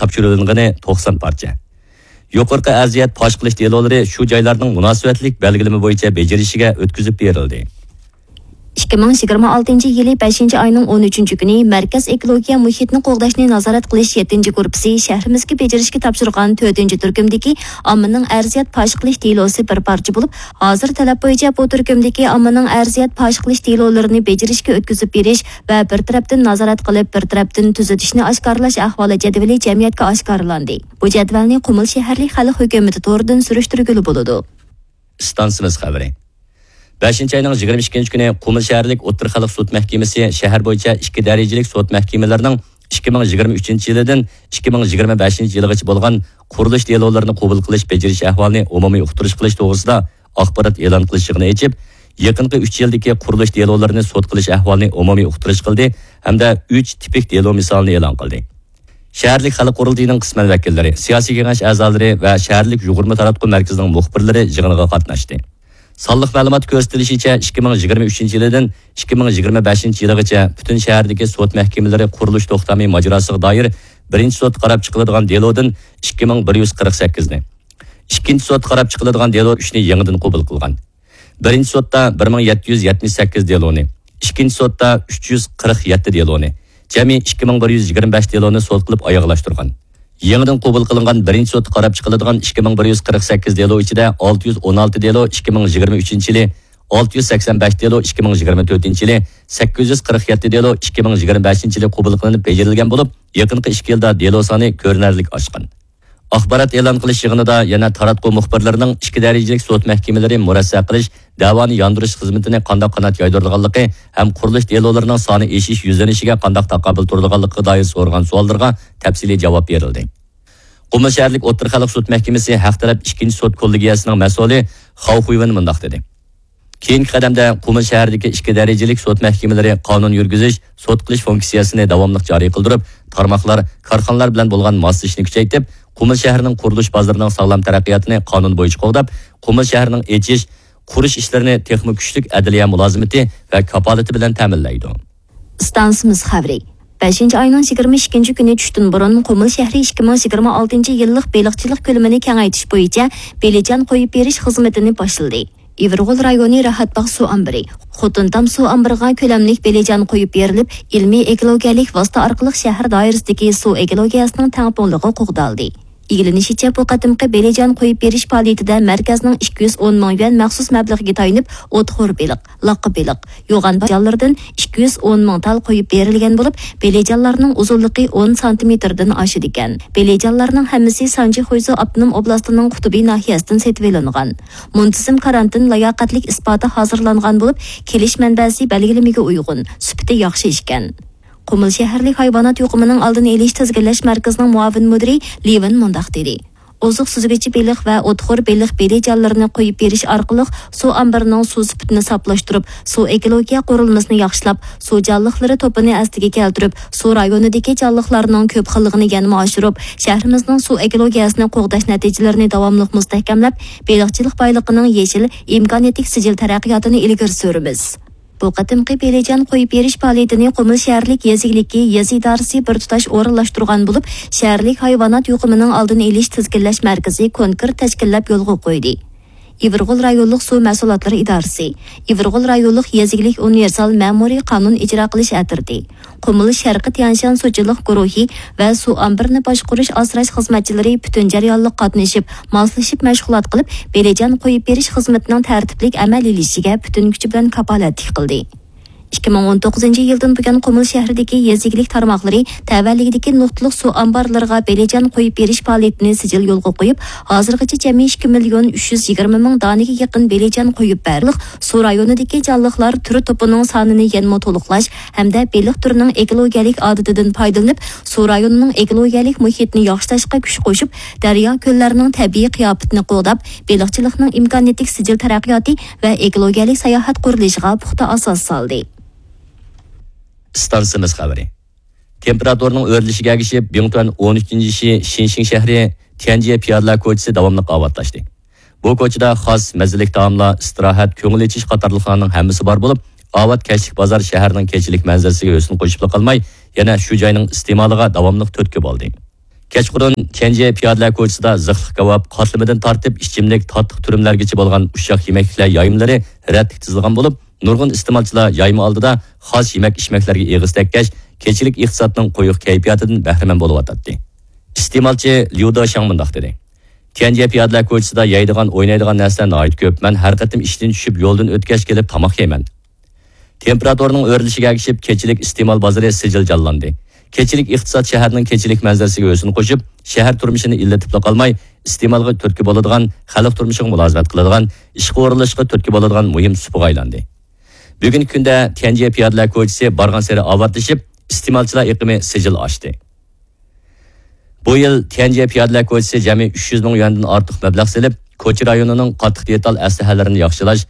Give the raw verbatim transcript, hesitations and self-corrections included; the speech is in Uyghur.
تاپشۇرۇلغىنى توقسان پارچە. يۇقىرىقى ئەرزىيەت پاش قىلىش دېلولىرى شۇ جايلارنىڭ مۇناسىۋەتلىك بەلگىلىمە بويىچە بېجىرىشىگە ئۆتكۈزۈپ بېرىلدى. ئىككى مىڭ يىگىرمە ئالتىنچى يىلى بەشىنچى ئاينىڭ ئون ئۈچىنچى كۈنى مەركەز ئېكولوگىيە مۇھىتنى قوغداشنى نازارەت قىلىش يەتتىنچى گۇرۇپپىسى شەھىرىمىزگە بېجىرىشكە تاپشۇرغان تۆتىنچى تۈركۈمدىكى ئاممىنىڭ ئەرزىيەت پاش قىلىش دېلوسى بىر پارچە بولۇپ، ھازىر تەلەپ بويىچە بۇ تۈركۈمدىكى ئاممىنىڭ ئەرزىيەت پاش قىلىش دېلولىرىنى بېجىرىشكە ئۆتكۈزۈپ بېرىش ۋە بىر تەرەپتىن نازارەت قىلىپ، بىر تەرەپتىن تۈزىتىشنى ئاشكارىلاش ئەھۋالى جەدۋىلى جەمئىيەتكە ئاشكارىلاندى. بۇ جەدۋەلنى قۇمۇل شەھەرلىك خەلق ھۆكۈمىتى تورىدىن سۈرۈشتۈرگىلى بولىدۇ. ئىستانسىمىز خەۋىرى. بەشىنچى ئاينىڭ يىگىرمە ئىككىنچى كۈنى قۇمۇل شەھەرلىك ئوتتۇرا خەلق سوت مەھكىمىسى شەھەر بويىچە ئىككى دەرىجىلىك سوت مەھكىمىلىرىنىڭ ئىككى مىڭ يىگىرمە ئۈچىنچى يىلىدىن ئىككى مىڭ يىگىرمە بەشىنچى يىلىغىچە بولغان قۇرۇلۇش دېلولىرىنى قوبۇل قىلىش، بېجىرىش ئەھۋالىنى ئومۇمىي ئۇقتۇرۇش قىلىش توغرىسىدا ئاخبارات ئېلان قىلىش يىغىنى ئېچىپ، يېقىنقى ئۈچ يىلدىكى قۇرۇلۇش دېلولىرىنى سوت قىلىش ئەھۋالىنى ئومۇمىي ئۇقتۇرۇش قىلدى ھەمدە ئۈچ تىپىك دېلو مىسالىنى ئېلان قىلدى. شەھەرلىك خەلق قۇرۇلتىيىنىڭ قىسمەن ۋەكىللىرى، سىياسىي كېڭەش ئەزالىرى ۋە شەھەرلىك يۇغۇرما تاراتقۇ مەركىزىنىڭ مۇخبىرلىرى يىغىنغا قاتناشتى. سانلىق مەلۇماتتا كۆرسىتىلىشىچە، ئىككى مىڭ يىگىرمە ئۈچىنچى يىلىدىن ئىككى مىڭ يىگىرمە بەشىنچى يىلىغىچە پۈتۈن شەھەردىكى سوت مەھكىمىلىرى قۇرۇلۇش توختامى ماجىراسىغا دائىر بىرىنچى سوتتا قاراپ چىقىلىدىغان دېلودىن ئىككى مىڭ بىر يۈز قىرىق سەككىزنى، ئىككىنچى سوتتا قاراپ چىقىلىدىغان دېلو ئۈچنى يېڭىدىن قوبۇل قىلغان. بىرىنچى سوتتا بىر مىڭ يەتتە يۈز يەتمىش سەككىز دېلونى، ئىككىنچى سوتتا ئۈچ يۈز قىرىق يەتتە دېلونى، جەمئىي ئىككى مىڭ بىر يۈز يىگىرمە بەش دېلونى سوت قىلىپ ئاياغلاشتۇرغان. يېڭىدىن قوبۇل قىلىنغان بىرىنچى سوتتا قاراپ چىقىلىدىغان ئىككى مىڭ بىر يۈز قىرىق سەككىز دېلو ئىچىدە ئالتە يۈز ئون ئالتە دېلو ئىككى مىڭ يىگىرمە ئۈچىنچى يىلى، ئالتە يۈز سەكسەن بەش دېلو ئىككى مىڭ يىگىرمە تۆتىنچى يىلى، سەككىز يۈز قىرىق يەتتە دېلو ئىككى مىڭ يىگىرمە بەشىنچى يىلى قوبۇل قىلىنىپ بېجىرىلگەن بولۇپ، يېقىنقى ئىككى يىلدا دېلو سانى كۆرۈنەرلىك ئاشقان. ئاخبارات ئېلان قىلىش يىغىنىدا يەنە تاراتقۇ مۇخبىرلىرىنىڭ ئىككى دەرىجىلىك سوت مەھكىمىلىرى مۇرەسسە قىلىش، دەۋانى ياندۇرۇش خىزمىتىنى قانداق قانات يايدۇرىدىغانلىقى ھەم قۇرۇلۇش دېلولىرىنىڭ سانى ئېشىش يۈزلىنىشىگە قانداق تاقابىل تۇرىدىغانلىقىغا دائىر سورىغان سوئاللىرىغا تەپسىلىي جاۋاب بېرىلدى. قۇمۇل شەھەرلىك ئوتتۇرا خەلق سوت مەھكىمىسى ھەق تەرەپ ئىككىنچى سوت كوللېگىيەسىنىڭ مەسئۇلى خاۋ خۇيۋېن مۇنداق دېدى. كېيىنكى قەدەمدە قۇمۇل شەھىرىدىكى ئىككى دەرىجىلىك سوت مەھكىمىلىرى قانۇن يۈرگۈزۈش، سوت قىلىش فۇنكسىيەسىنى داۋاملىق جارى قىلدۇرۇپ، تارماقلار، كارخانىلار بىلەن بولغان ماسلىشىشنى كۈچەيتىپ، قۇمۇل شەھىرىنىڭ قۇرۇلۇش بازىرىنىڭ ساغلام تەرەققىياتىنى قانۇن بويىچە قوغداپ، قۇمۇل شەھىرىنىڭ ئېچىش، قۇرۇش ئىشلىرىنى تېخىمۇ كۈچلۈك ئەدلىيە مۇلازىمىتى ۋە كاپالىتى بىلەن تەمىنلەيدۇ. ئىستانسىمىز خەۋىرى. بەشىنچى ئاينىڭ يىگىرمە ئىككىنچى كۈنى چۈشتىن بۇرۇن قۇمۇل شەھىرى ئىككى مىڭ يىگىرمە ئالتىنچى يىللىق بېلىقچىلىق كۆلىمىنى كېڭەيتىش بويىچە بېلىجان قويۇپ بېرىش خىزمىتىنى باشلىدى. ئىۋىرغول رايونى راھەتباغ سۇ ئامبىرى، خوتۇنتام سۇ ئامبىرىغا كۆلەملىك بېلىجان قويۇپ بېرىلىپ، ئىلمىي ئېكولوگىيەلىك ۋاسىتە ئارقىلىق شەھەر دائىرىسىدىكى سۇ ئېكولوگىيەسىنىڭ تەڭپۇڭلۇقى قوغدالدى. ئىگىلىنىشىچە، بۇ قېتىمقى بېلىجان قويۇپ بېرىش پائالىيىتىدە مەركەزنىڭ ئىككى يۈز ئون مىڭ يۈەن مەخسۇس مەبلىغىگە تايىنىپ، ئوتخور بېلىق، لاققا بېلىق، يوغان جانلىرىدىن ئىككى يۈز ئون مىڭ تال قويۇپ بېرىلگەن بولۇپ، بېلىجانلارنىڭ ئۇزۇنلۇقى ئون سانتىمېتىردىن ئاشىدىكەن. بېلىجانلارنىڭ ھەممىسى سانجى خۇيزۇ ئاپتونوم ئوبلاستىنىڭ قۇتۇبى ناھىيەسىدىن سېتىۋېلىنغان. مۇنتىزىم كارانتىن لاياقەتلىك ئىسپاتى ھازىرلانغان بولۇپ، كېلىش مەنبەسى بەلگىلىمىگە ئۇيغۇن، سۈپىتى ياخشى ئىكەن. قۇمۇل شەھەرلىك ھايۋانات يۇقۇمىنىڭ ئالدىنى ئېلىش تىزگىنلەش مەركىزىنىڭ مۇئاۋىن مۇدىرى لىۋېن مۇنداق دېدى: ئوزۇق سۈزگۈچى بېلىق ۋە ئوتخور بېلىق بېلىجانلىرىنى قويۇپ بېرىش ئارقىلىق سۇ ئامبىرىنىڭ سۇ سۈپىتىنى ساپلاشتۇرۇپ، سۇ ئېكولوگىيە قۇرۇلمىسىنى ياخشىلاپ، سۇ جانلىقلىرى توپىنى ئەسلىگە كەلتۈرۈپ، سۇ رايونىدىكى جانلىقلارنىڭ كۆپ خىللىقىنى يەنىمۇ ئاشۇرۇپ، شەھىرىمىزنىڭ سۇ ئېكولوگىيەسىنى قوغداش نەتىجىلىرىنى داۋاملىق مۇستەھكەملەپ، بېلىقچىلىق بايلىقىنىڭ يېشىل، ئىمكانىيەتلىك سىجىل تەرەققىياتىنى ئىلگىرى سۈرىمىز. بۇ قېتىمقى بېلىجان قويۇپ بېرىش پائالىيىتىنى قۇمۇل شەھەرلىك يېزا ئىگىلىكى يېزا ئىدارىسى بىر تۇتاش ئورۇنلاشتۇرغان بولۇپ، شەھەرلىك ھايۋانات يۇقۇمىنىڭ ئالدىنى ئېلىش تىزگىنلەش مەركىزى كونكرېت تەشكىللەپ يولغا قويدى. ئىۋىرغول رايونلۇق سۇ مەھسۇلاتلىرى ئىدارىسى، ئىۋىرغول رايونلۇق يېزا ئىگىلىك ئۇنىۋېرسال مەمۇرىي قانۇن ئىجرا قىلىش ئەترىتى، قۇمۇل شەرقىي تيەنشان سۇچىلىق گۇرۇھى ۋە سۇ ئامبىرىنى باشقۇرۇش ئاسراش خىزمەتچىلىرى پۈتۈن جەريانلىق قاتنىشىپ، ماسلىشىپ مەشغۇلات قىلىپ، بېلىجان قويۇپ بېرىش خىزمىتىنىڭ تەرتىپلىك ئەمەلىيلىشىشىگە پۈتۈن كۈچى بىلەن كاپالەتلىك قىلدى. ئىككى مىڭ ئون توققۇزىنچى يىلدىن بۇيان، قۇمۇل شەھىرىدىكى يېزا ئىگىلىك تارماقلىرى تەۋەلىكىدىكى نۇقتىلىق سۇ ئامبارلىرىغا بېلىجان قويۇپ بېرىش پائالىيىتىنى سىجىل يولغا قويۇپ، ھازىرغىچە جەمئىي ئىككى مىليون ئۈچ يۈز يىگىرمە مىڭ دانىگە يېقىن بېلىجان قويۇپ بېرىلىپ، سۇ رايونىدىكى جانلىقلار تۈر توپىنىڭ سانىنى يەنىمۇ تولۇقلاش ھەمدە بېلىق تۈرىنىڭ ئېكولوگىيەلىك ئادىتىدىن پايدىلىنىپ، سۇ رايونىنىڭ ئېكولوگىيەلىك مۇھىتىنى ياخشىلاشقا كۈچ قوشۇپ، دەريا، كۆللەرنىڭ تەبىئىي قىياپىتىنى قوغداپ، بېلىقچىلىقنىڭ ئىمكانىيەتلىك سىجىل تەرەققىياتى ۋە ئېكولوگىيەلىك ساياھەت قۇرۇلۇشىغا پۇختا ئاساس سالدى. ئىستانسىمىز خەۋىرى. تېمپېراتۇرىنىڭ ئۆرلىشىگە ئەگىشىپ، بىڭتۈەن ئون ئۈچىنچى شى شىنشىڭ شەھىرى تيەنجيې پىيادىلەر كوچىسى داۋاملىق ئاۋاتلاشتى. بۇ كوچىدا خاس، مەززىلىك تائاملار، ئىستىراھەت، كۆڭۈل ئېچىش قاتارلىقلارنىڭ ھەممىسى بار بولۇپ، ئاۋات كەچلىك بازار شەھەرنىڭ كېچىلىك مەنزىرىسىگە ھۆسن قوشۇپلا قالماي، يەنە شۇ جاينىڭ ئىستېمالىغا داۋاملىق تۈرتكە بولدى. كەچقۇرۇن تيەنجى پىيادىلەر كوچىسىدا زىخلىق كاۋاپ، قاتلىمىدىن تارتىپ ئىچىملىك، تاتلىق تۈرۈملەرگىچە بولغان ئۇششاق يېمەكلىكلەر يايمىلىرى رەتلىك تىزىلغان بولۇپ، نۇرغۇن ئىستېمالچىلار يايما ئالدىدا خاس يېمەك-ئىچمەكلەرگە ئېغىز تەگكەچ، كېچىلىك ئىقتىسادنىڭ قويۇق كەيپىياتىدىن بەھرىمەن بولۇۋاتاتتى. ئىستېمالچى ليۇ داشاڭ مۇنداق دېدى: تيەنجى پىيادىلەر كوچىسىدا يەيدىغان، ئوينايدىغان نەرسىلەر ناھايىتى كۆپ. مەن ھەر قېتىم ئىشتىن چۈشۈپ، يولدىن ئۆتكەچ كېلىپ تاماق يەيمەن. تېمپېراتۇرىنىڭ ئۆرلىشىگە ئەگىشىپ، كېچىلىك ئىستېمال بازىرى سىجىل جانلاندى. كېچىلىك ئىقتىساد شەھەرنىڭ كېچىلىك مەنزىرىسىگە ھۆسن قوشۇپ، شەھەر تۇرمۇشىنى ئىللىتىپلا قالماي، ئىستېمالغا تۈرتكە بولىدىغان، خەلق تۇرمۇشىغا مۇلازىمەت قىلىدىغان، ئىشقا ئورۇنلىشىشقا تۈرتكە بولىدىغان مۇھىم سۇپىغا ئايلاندى. بۈگۈنكى كۈندە تيەنجى پىيادىلەر كوچىسى بارغانسېرى ئاۋاتلىشىپ، ئىستېمالچىلار ئېقىمى سىجىل ئاشتى. بۇ يىل تيەنجى پىيادىلەر كوچىسى جەمئىي ئۈچ يۈز مىڭ يۈەندىن ئارتۇق مەبلەغ سېلىپ، كوچا رايونىنىڭ قاتتىق دېتال ئەسلىھەلىرىنى ياخشىلاش،